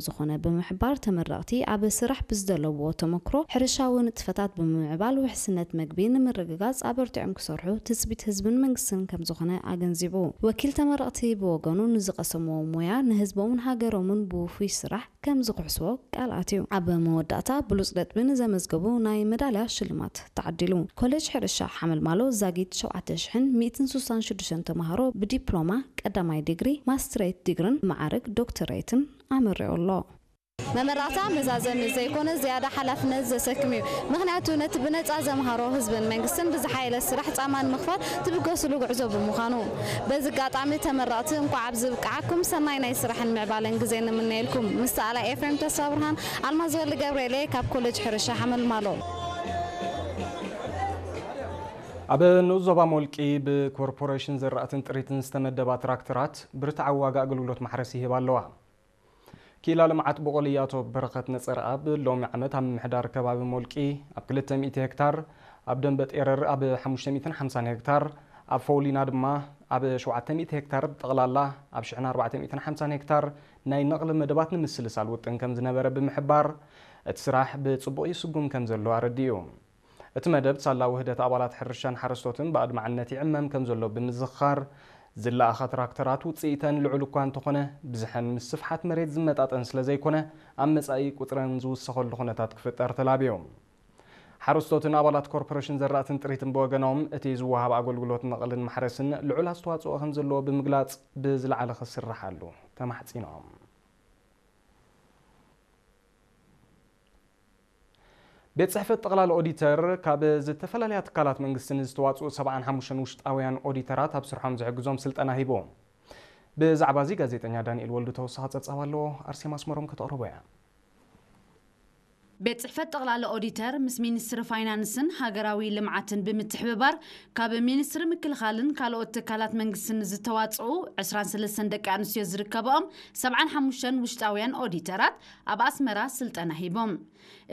ዝኾነ ብምሕባር፣ ተመረቕቲ ኣብ ስራሕ ብዝደለብዎ ተመክሮ ሕርሻዊ ንጥፈታት ብምምዕባል ውሕስነት መግቢ ንምርግጋጽ ኣበርቲዖም ክሰርሑ ትጽቢት ህዝብን መንግስትን ከም ዝኾነ ኣገንዚቡ። ወኪል ተመረቕቲ ብወገኑ፣ ንዝቐሰምዎ ሞያ ንህዝቦምን ሃገሮምን ብውፉይ ስራሕ ከም ዝኽሕስዎ ቃል ኣትዩ። ኣብ መወዳእታ፣ ብሉጽ ነጥቢ ንዘመዝገቡ ናይ መዳልያ ሽልማት ተዓዲሉ። ኮሌጅ ሕርሻ ሓመልማሎ ዛጊት ሸውዓተ ሽሕን ሚእትን ስሳን ሽዱሽተን ተምሃሮ ብዲፕሎማ ቀዳማይ ዲግሪ፣ ማስትሬት ዲግርን መዓርግ ዶክተሬትን ኣመሪቑ ኣሎ። መመረቕታ መዛዘሚ ዘይኮነ፣ ዝያዳ ሓላፍነት ዘሰክም እዩ። ምኽንያቱ፣ ነቲ ብነጻ ዘምሃሮ ህዝብን መንግስትን ብዝሓየለ ስራሕ ጻማ ንምኽፋል ትብገስሉ ጉዕዞ ብምዃኑ። በዚ ኣጋጣሚ፣ ተመረቕቲ፣ እንኳዕ ኣብዚ ብቅዓኩም፣ ሰናይ ናይ ስራሕን ምዕባለን ግዜ ንምነየልኩም። ምስ ሰኣላይ ኤፍሬም ተስፋብርሃን፣ ኣልማዝ ወልደ ገብርኤል እየ፣ ካብ ኮሌጅ ሕርሻ ሓመልማሎ። ኣብ ንኡስ ዞባ ሞልቂ ብኮርፖሬሽን ዘራእትን ጥሪትን ዝተመደባ ትራክተራት ብርትዓዊ ዋጋ ኣገልግሎት ማሕረስ ይህባ ኣለዋ። ክኢላ ልምዓት ብቖሊ ኣቶ በረኸት ነጸረኣብ፣ ሎሚ ዓመት ኣብ ምምሕዳር ከባቢ ሞልቂ ኣብ ክልተ ሚእቲ ሄክታር፣ ኣብ ደንበ ጤረር ኣብ ሓሙሽተ ሚእትን ሓምሳን ሄክታር፣ ኣብ ፈውሊና ድማ ኣብ ሸውዓተ ሚእቲ ሄክታር፣ ብጠቕላላ ኣብ ሽሕን ኣርባዕተ ሚእትን ሓምሳን ሄክታር ናይ ነቕሊ መደባት ንምስልሳል ውጥን ከም ዝነበረ ብምሕባር፣ እቲ ስራሕ ብጽቡቕ ይስጉም ከም ዘሎ ኣረዲኡ። እቲ መደብ ሳላ ውህደት ኣባላት ሕርሻን ሓረስቶትን ብኣድማዕነት ይዕመም ከም ዘሎ ብምዝኽኻር፣ ዝለኣኻ ትራክተራት ውጽኢተን ልዑል እኳ እንተኾነ፣ ብዝሐን ምስ ስፍሓት መሬት ዝመጣጠን ስለ ዘይኮነ፣ ኣብ መጻኢ ቁጽረን ዝውሰኸሉ ኩነታት ክፍጠር ተላብዮም። ሓረስቶትን ኣባላት ኮርፖሬሽን ዘራእትን ጥሪትን ብወገኖም፣ እቲ ዝወሃብ ኣገልግሎት ነቕልን ማሕረስን ልዑል ኣስተዋጽኦ ከም ዘለዎ ብምግላጽ፣ ብዝለዓለ ክስርሓሉ ተማሕጺኖም። ቤት ጽሕፈት ጠቕላሊ ኦዲተር ካብ ዝተፈላለያ ትካላት መንግስቲ ንዝተዋጽኡ ሰብዓን ሓሙሽተን ውሽጣውያን ኦዲተራት ኣብ ስርሖም ዝሕግዞም ስልጠና ሂቡ። ብዛዕባ እዚ ጋዜጠኛ ዳንኤል ወልዱ ተወሳኺ ጸብጻብ ኣለዎ፣ ኣርሴማ ኣስመሮም ከተቕርቦ እያ። ቤት ጽሕፈት ጠቕላሊ ኦዲተር ምስ ሚኒስትሪ ፋይናንስን ሃገራዊ ልምዓትን ብምትሕብባር ካብ ሚኒስትሪ ምክልኻልን ካልኦት ትካላት መንግስትን ዝተዋጽኡ ዕስራን ሰለስተን ደቂ ኣንስትዮ ዝርከብኦም ሰብዓን ሓሙሽተን ውሽጣውያን ኦዲተራት ኣብ ኣስመራ ስልጠና ሂቦም።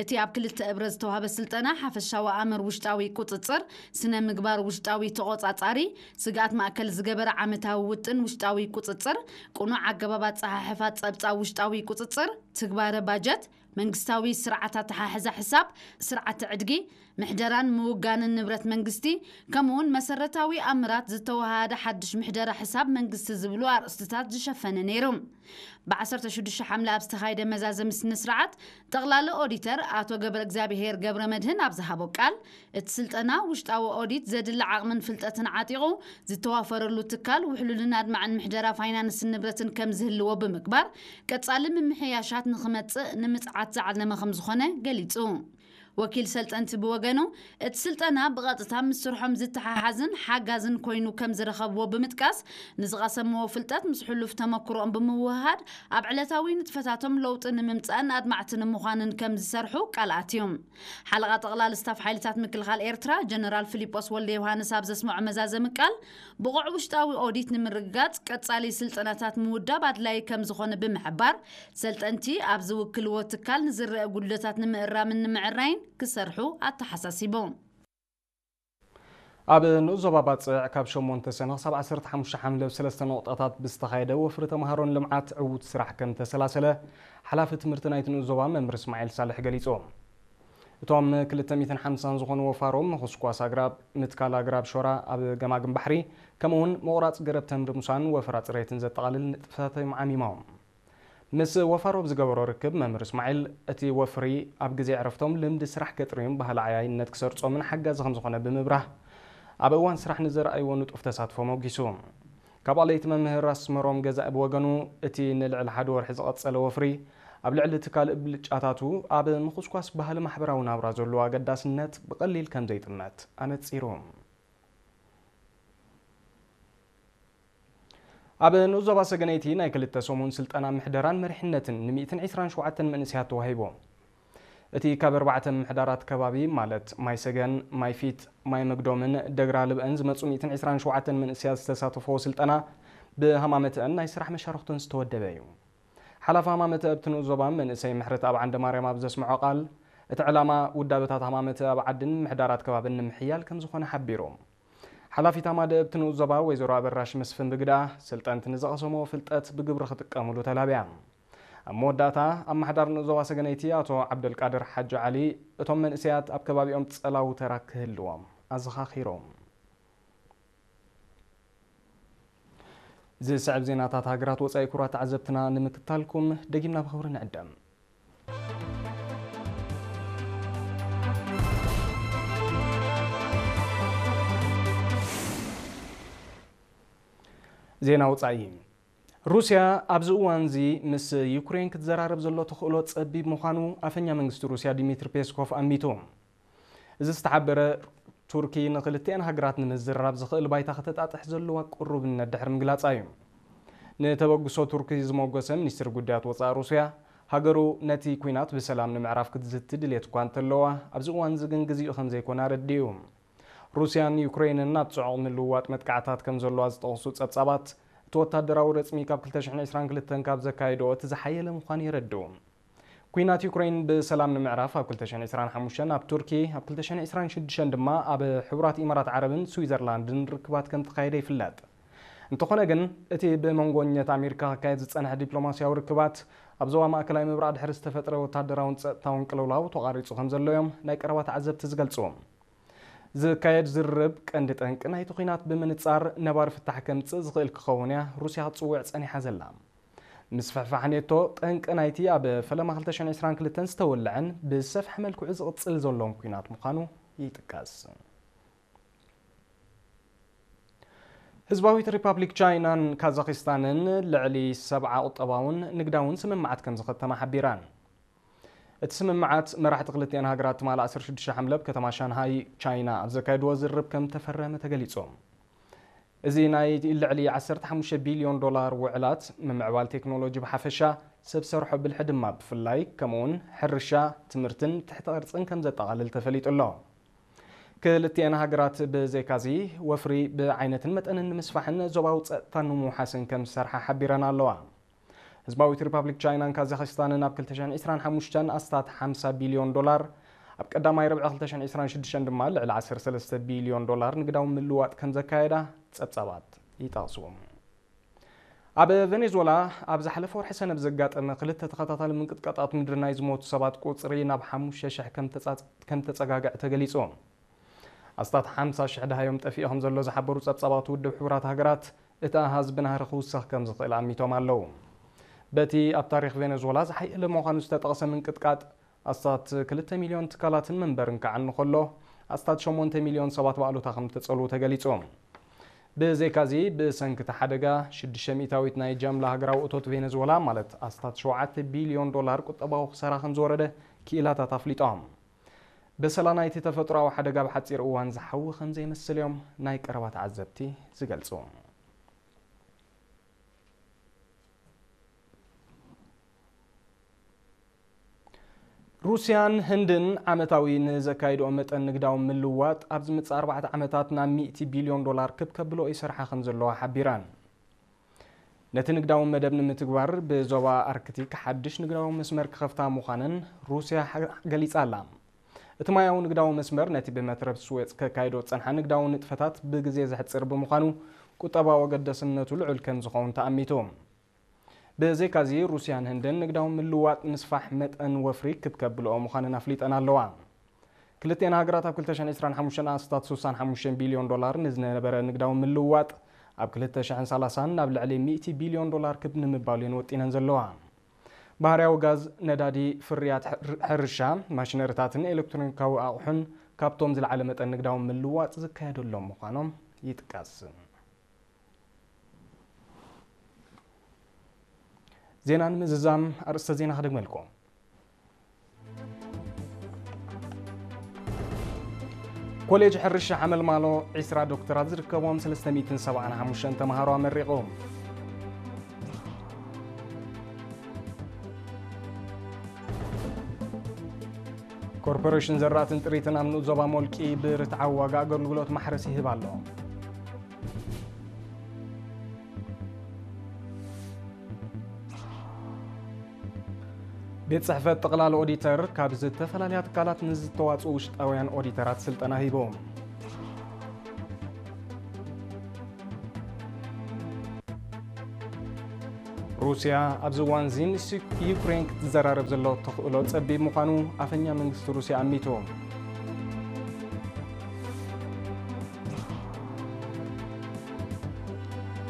እቲ ኣብ ክልተ እብረ ዝተዋህበ ስልጠና ሓፈሻዊ ኣምር ውሽጣዊ ቁጽጽር፣ ስነ ምግባር ውሽጣዊ ተቖጻጻሪ፣ ስግኣት ማእከል ዝገበረ ዓመታዊ ውጥን ውሽጣዊ ቁጽጽር፣ ቅኑዕ ኣገባብ ኣጸሓሕፋ ጸብጻብ ውሽጣዊ ቁጽጽር፣ ትግባረ ባጀት፣ መንግስታዊ ስርዓት ኣተሓሕዛ ሕሳብ፣ ስርዓተ ዕድጊ፣ ምሕደራን ምውጋንን ንብረት መንግስቲ፣ ከምኡውን መሰረታዊ ኣምራት ዝተወሃሃደ ሓድሽ ምሕደራ ሕሳብ መንግስቲ ዝብሉ ኣርእስትታት ዝሸፈነ ነይሩ። ብ ዓሰርተ ሽዱሽተ ሓምለ ኣብ ዝተኻየደ መዛዘሚ ስነ ስርዓት፣ ጠቕላሊ ኦዲተር ኣቶ ገብረ እግዚኣብሄር ገብረ መድህን ኣብ ዝሃቦ ቃል፣ እቲ ስልጠና ውሽጣዊ ኦዲት ዘድሊ ዓቕምን ፍልጠትን ዓጢቑ ዝተዋፈረሉ ትካል ውሕሉልን ኣድማዕን ምሕደራ ፋይናንስን ንብረትን ከም ዝህልዎ ብምግባር፣ ቀጻሊ ምምሕያሻት ንኽመጽእ ንምጽዓት ዝዓለመ ከም ዝኾነ ገሊጹ። ወኪል ሰልጠንቲ ብወገኑ፣ እቲ ስልጠና ብቐጥታ ምስ ስርሖም ዝተሓሓዝን ሓጋዝን ኮይኑ ከም ዝረኸብዎ ብምጥቃስ፣ ንዝቐሰምዎ ፍልጠት ምስ ሕሉፍ ተመክሮኦም ብምውህሃድ ኣብ ዕለታዊ ንጥፈታቶም ለውጢ ንምምጻእን ኣድማዕቲ ንምዃንን ከም ዝሰርሑ ቃል ኣትዮም። ሓለቓ ጠቕላሊ ስታፍ ሓይልታት ምክልኻል ኤርትራ ጀነራል ፊሊጶስ ወልደ ዮሃንስ ኣብ ዘስምዖ መዛዘሚ ቃል፣ ብቑዕ ውሽጣዊ ኦዲት ንምርግጋጽ ቀጻሊ ስልጠናታት ምውዳብ ኣድላዪ ከም ዝኾነ ብምሕባር፣ ሰልጠንቲ ኣብ ዝውክልዎ ትካል ንዝረአ ጉድለታት ንምእራምን ንምዕራይን ክሰርሑ ኣተሓሳሲቡ። ኣብ ንኡስ ዞባ ባጽዕ ካብ ሸሞንተ ሰነ ክሳብ ዓሰርተ ሓሙሽተ ሓምለ ኣብ ሰለስተ ነቑጣታት ብዝተኻየደ ወፍሪ ተምሃሮን ልምዓት ዕዉት ስራሕ ከም ተሰላሰለ ሓላፊ ትምህርቲ ናይቲ ንኡስ ዞባ መምህር እስማዒል ሳልሕ ገሊጹ። እቶም ክልተ ሚእትን ሓምሳን ዝኾኑ ወፋሮ ምኹስኳስ ኣግራብ፣ ምትካል ኣግራብ ሾራ ኣብ ገማግም ባሕሪ፣ ከምኡውን ምቑራጽ ገረብ ተምሪ ሙሳን ወፈራ ጽሬትን ዘጠቓልል ንጥፈታት እዮም ዓሚሞም። ምስ ወፋሮ ኣብ ዝገበሮ ርክብ መምህር እስማዒል፣ እቲ ወፍሪ ኣብ ግዜ ዕረፍቶም ልምዲ ስራሕ ከጥርዩን ባህሊ ዓያይነት ክሰርጾምን ሓጋዚ ከም ዝኾነ ብምብራህ፣ ኣብ እዋን ስራሕ ንዘርኣይዎ ንጡፍ ተሳትፎ ሞጊሱ። ካብ ኣለይቲ መምህር ኣስመሮም ገዛኢ ብወገኑ፣ እቲ ንልዕሊ ሓደ ወርሒ ዝቐጸለ ወፍሪ፣ ኣብ ልዕሊ ትካል ብልጫታቱ ኣብ ምኹስኳስ ባህሊ ማሕበራዊ ናብራ ዘለዎ ኣገዳስነት ብቐሊል ከም ዘይጥመት ኣነጺሩ። ኣብ ንኡስ ዞባ ሰገነይቲ ናይ ክልተ ሰሙን ስልጠና ምሕደራን መሪሕነትን ን ሚእትን ዕስራን ሸውዓተን መንእሰያት ተዋሂቡ። እቲ ካብ ኣርባዕተ ምሕዳራት ከባቢ፣ ማለት ማይ ሰገን፣ ማይ ፊት፣ ማይ መግዶምን ደግራ ልብእን ዝመጹ ሚእትን ዕስራን ሸውዓተን መንእሰያት ዝተሳተፍዎ ስልጠና፣ ብሃማመተአን ናይ ስራሕ መሻርኽቶን ዝተወደበ እዩ። ሓላፊ ሃማመተ ኣብቲ ንኡስ ዞባ መንእሰይ ምሕረት ኣብ ዓንደ ማርያም ኣብ ዘስምዖ ቃል፣ እቲ ዕላማ ውዳበታት ሃማመተ ኣብ ዓድን ምሕዳራት ከባብን ንምሕያል ከም ዝኾነ ሓቢሩ። ሓላፊት ሃማደ ኣብቲ ንኡስ ዞባ ወይዘሮ ኣበራሽ መስፍን ብግዳ፣ ሰልጠንቲ ንዝቐሰምዎ ፍልጠት ብግብሪ ክጥቀምሉ ተላብያ። ኣብ መወዳእታ፣ ኣመሓዳሪ ንኡስ ዞባ ሰገነይቲ ኣቶ ዓብደልቃድር ሓጂ ዓሊ፣ እቶም መንእሰያት ኣብ ከባቢኦም ጸላዊ ተራ ክህልዎም ኣዘኻኺሮም። ዝስዕብ ዜናታት ሃገራት ወጻኢ ክቡራት ተዓዘብትና ንምክታልኩም ደጊምና ብኽብሪ ንዕደም። ዜና ወጻኢ። ሩስያ ኣብዚ እዋንዚ ምስ ዩክሬን ክትዘራረብ ዘሎ ተኽእሎ ጸቢብ ምዃኑ ኣፈኛ መንግስቲ ሩስያ ዲሚትሪ ፔስኮቭ ኣሚቱ። እዚ ዝተሓበረ፣ ቱርኪ ንክልቲኣን ሃገራት ንምዝርራብ ዝኽእል ባይታ ከተጣጥሕ ዘለዋ ቅሩብነት ድሕሪ ምግላጻ እዩ። ንተበግሶ ቱርኪ ዝመጎሰ ሚኒስትሪ ጉዳያት ወጻኢ ሩስያ፣ ሃገሩ ነቲ ኲናት ብሰላም ንምዕራፍ ክትዝቲ ድልየት እኳ እንተለዋ፣ ኣብዚ እዋንዚ ግን ግዜኡ ከም ዘይኮነ ኣረዲኡ። ሩስያን ዩክሬንን ኣብ ጽዑቕ ምልውዋጥ መጥቃዕታት ከም ዘለዋ ዝጠቕሱ ጸብጻባት፣ እቲ ወታደራዊ ረጽሚ ካብ ክልተ ሽሕን ዕስራን ክልተን ካብ ዘካየዶ እቲ ዝሓየለ ምዃኑ የረድኡ። ኲናት ዩክሬን ብሰላም ንምዕራፍ ኣብ ክልተ ሽሕን ዕስራን ሓሙሽተን ኣብ ቱርኪ፣ ኣብ ክልተ ሽሕን ዕስራን ሽዱሽተን ድማ ኣብ ሕቡራት ኢማራት ዓረብን ስዊዘርላንድን ርክባት ከም ተኻየደ ይፍለጥ። እንተኾነ ግን፣ እቲ ብመንጎኛት ኣሜሪካ ክካየድ ዝጸንሐ ዲፕሎማስያዊ ርክባት ኣብ ዞባ ማእከላይ ምብራቕ ድሕሪ ዝተፈጥረ ወታደራውን ጸጥታውን ቅልውላው ተቋሪጹ ከም ዘሎ እዮም ናይ ቀረባ ተዓዘብቲ ዝገልጹ። ዝካየድ ዝርርብ ቀንዲ ጠንቂ ናይቲ ኲናት ብምንጻር ነባሪ ፍታሕ ከምጽእ ዝኽእል ክኸውን እያ ሩስያ ክትጽውዕ ጸኒሓ ዘላ። ምስፍሕፋሕ ኔቶ ጠንቂ ናይቲ ኣብ ፈለማ ክልተ ሽሕን ዕስራን ክልተን ዝተወልዐን ብዝሰፍሐ መልክዑ ዝቕጽል ዘሎን ኲናት ምዃኑ ይጥቀስ። ህዝባዊት ሪፓብሊክ ቻይናን ካዛኽስታንን ልዕሊ ሰብዓ ቁጠባውን ንግዳውን ስምምዓት ከም ዝኸተማ ሓቢረን። እቲ ስምምዓት መራሕቲ ክልቲኣን ሃገራት ትማሊ ዓሰርተ ሽዱሽተ ሓምለ ኣብ ከተማ ሻንሃይ ቻይና ኣብ ዘካየድዎ ዝርርብ ከም ተፈረመ ተገሊጹ። እዚ ናይ ልዕሊ ዓሰርተ ሓሙሽተ ቢልዮን ዶላር ውዕላት፣ ምምዕባል ቴክኖሎጂ ብሓፈሻ፣ ሰብ ሰርሖ ብልሒ ድማ ብፍላይ፣ ከምኡውን ሕርሻ፣ ትምህርትን ትሕተ ቅርጽን ከም ዘጠቓልል ተፈሊጡ ኣሎ። ክልቲኣን ሃገራት ብዘይካዚ፣ ወፍሪ ብዓይነትን መጠንን ንምስፋሕን ዞባዊ ጸጥታ ንምውሓስን ከም ዝሰርሓ ሓቢረን ኣለዋ። ህዝባዊት ሪፓብሊክ ቻይናን ካዛኽስታንን ኣብ ክልተ ሽሕን ዕስራን ሓሙሽተን ኣስታት ሓምሳ ቢልዮን ዶላር፣ ኣብ ቀዳማይ ርብዒ ክልተ ሽሕን ዕስራን ሽዱሽተን ድማ ልዕሊ ዓሰርተ ሰለስተ ቢልዮን ዶላር ንግዳዊ ምልውዋጥ ከም ዘካየዳ ጸብጻባት ይጠቕሱ። ኣብ ቬኔዙዌላ ኣብ ዝሓለፈ ወርሒ ሰነ ብዘጋጠመ ክልተ ተኸታታሊ ምንቅጥቃጣት ምድሪ ናይ ዝሞቱ ሰባት ቁጽሪ ናብ ሓሙሽተ ሽሕ ከም ተጻ-፣ ከም ተጸጋግዐ ተገሊጹ። ኣስታት ሓምሳ ሽሕ ደሃዮም ጠፊኡ ከም ዘሎ ዝሓበሩ ጸብጻባት ውድብ ሕቡራት ሃገራት፣ እቲ ኣሃዝ ብናህሪ ክውሰኽ ከም ዝኽእል ኣሚቶም ኣለዉ። በቲ ኣብ ታሪኽ ቬኔዙዌላ ዝሓየለ ምዃኑ ዝተጠቕሰ ምንቅጥቃጥ፣ ኣስታት ክልተ ሚልዮን ትካላትን መንበርን ክዓኑ ከሎ፣ ኣስታት ሸሞንተ ሚልዮን ሰባት ብኣሉታ ከም ዝተጸልዉ ተገሊጹ። ብዘይካዚ፣ ብሰንኪ እቲ ሓደጋ፣ ሽዱሽተ ሚእታዊት ናይ ጃምላ ሃገራዊ እቶት ቬኔዙዌላ፣ ማለት ኣስታት ሸውዓተ ቢልዮን ዶላር ቁጠባዊ ክሳራ ከም ዝወረደ ክኢላታት ኣፍሊጦም። በሰላ ናይቲ ተፈጥሮኣዊ ሓደጋ ብሓጺር እዋን ዝሓዊ ከም ዘይመስል እዮም ናይ ቀረባ ተዓዘብቲ ዝገልጹ። ሩስያን ህንድን ዓመታዊ ንዘካይድኦ መጠን ንግዳዊ ምልውዋጥ ኣብ ዝመጽእ ኣርባዕተ ዓመታት ናብ ሚእቲ ቢልዮን ዶላር ክብ ከብልኦ ይሰርሓ ከም ዘለዋ ሓቢረን። ነቲ ንግዳዊ መደብ ንምትግባር ብዞባ ኣርክቲክ ሓድሽ ንግዳዊ መስመር ክኸፍታ ምዃነን ሩስያ ሓ-፣ ገሊጻ ኣላ። እቲ ማያዊ ንግዳዊ መስመር ነቲ ብመትረብ ስዌጽ ከካይዶ ዝጸንሓ ንግዳዊ ንጥፈታት ብግዜ ዘሕጽር ብምዃኑ ቁጠባዊ ኣገዳስነቱ ልዑል ከም ዝኸውን ተኣሚቱ። ብዘይካዚ፣ ሩስያን ህንድን ንግዳዊ ምልውዋጥ ምስፋሕ መጠን ወፍሪ ክብ ከብልኦ ምዃነን ኣፍሊጠን ኣለዋ። ክልቲኣን ሃገራት ኣብ ክልተ ሽሕን ዕስራን ሓሙሽተን ኣስታት ስሳን ሓሙሽተን ቢልዮን ዶላር ንዝነበረ ንግዳዊ ምልውዋጥ፣ ኣብ ክልተ ሽሕን ሰላሳን ናብ ልዕሊ ሚእቲ ቢልዮን ዶላር ክብ ንምባል እየን ወጢነን ዘለዋ። ባህርያዊ ጋዝ፣ ነዳዲ፣ ፍርያት ሕር-፣ ሕርሻ፣ ማሽነሪታትን ኤሌክትሮኒካዊ ኣቑሑን ካብቶም ዝለዓለ መጠን ንግዳዊ ምልውዋጥ ዝካየደሎም ምዃኖም ይጥቀስ። ዜና ንምዝዛም ኣርእስተ ዜና ክደግመልኩም። ኮሌጅ ሕርሻ ሓመልማሎ ዕስራ ዶክተራት ዝርከቦም ሰለስተ ሚእትን ሰብዓን ሓሙሽተን ተምሃሮ ኣመሪቑ። ኮርፖሬሽን ዘራእትን ጥሪትን ኣብ ንኡስ ዞባ ሞልቂ ብርትዓዊ ዋጋ ኣገልግሎት ማሕረስ ይህብ ኣሎ። ቤት ጽሕፈት ጠቕላሊ ኦዲተር ካብ ዝተፈላለያ ትካላት ንዝተዋጽኡ ውሽጣውያን ኦዲተራት ስልጠና ሂቡ። ሩስያ ኣብዚ እዋን እዚ ምስ ዩክሬን ክትዘራረብ ዘሎ ተኽእሎ ጸቢብ ምዃኑ ኣፈኛ መንግስቲ ሩስያ ኣሚቱ።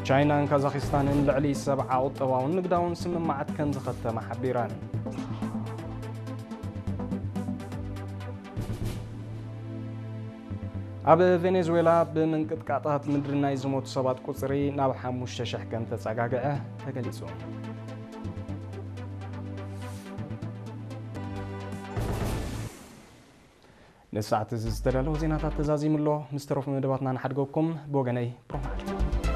ቻይናን ካዛኽስታንን ልዕሊ ሰብዓ ቁጠባውን ንግዳውን ስምምዓት ከም ዝኸተማ ሓቢረን። ኣብ ቬኔዙዌላ ብምንቅጥቃጣት ምድሪ ናይ ዝሞቱ ሰባት ቁጽሪ ናብ ሓሙሽተ ሽሕ ከም ተጸጋግዐ ተገሊጹ። ንሰዓት እዚ ዝተዳለወ ዜናታት ተዛዚሙ ኣሎ። ምስ ተረፉ መደባትና ንሓድገኩም። ብወገነይ ፕሮማድ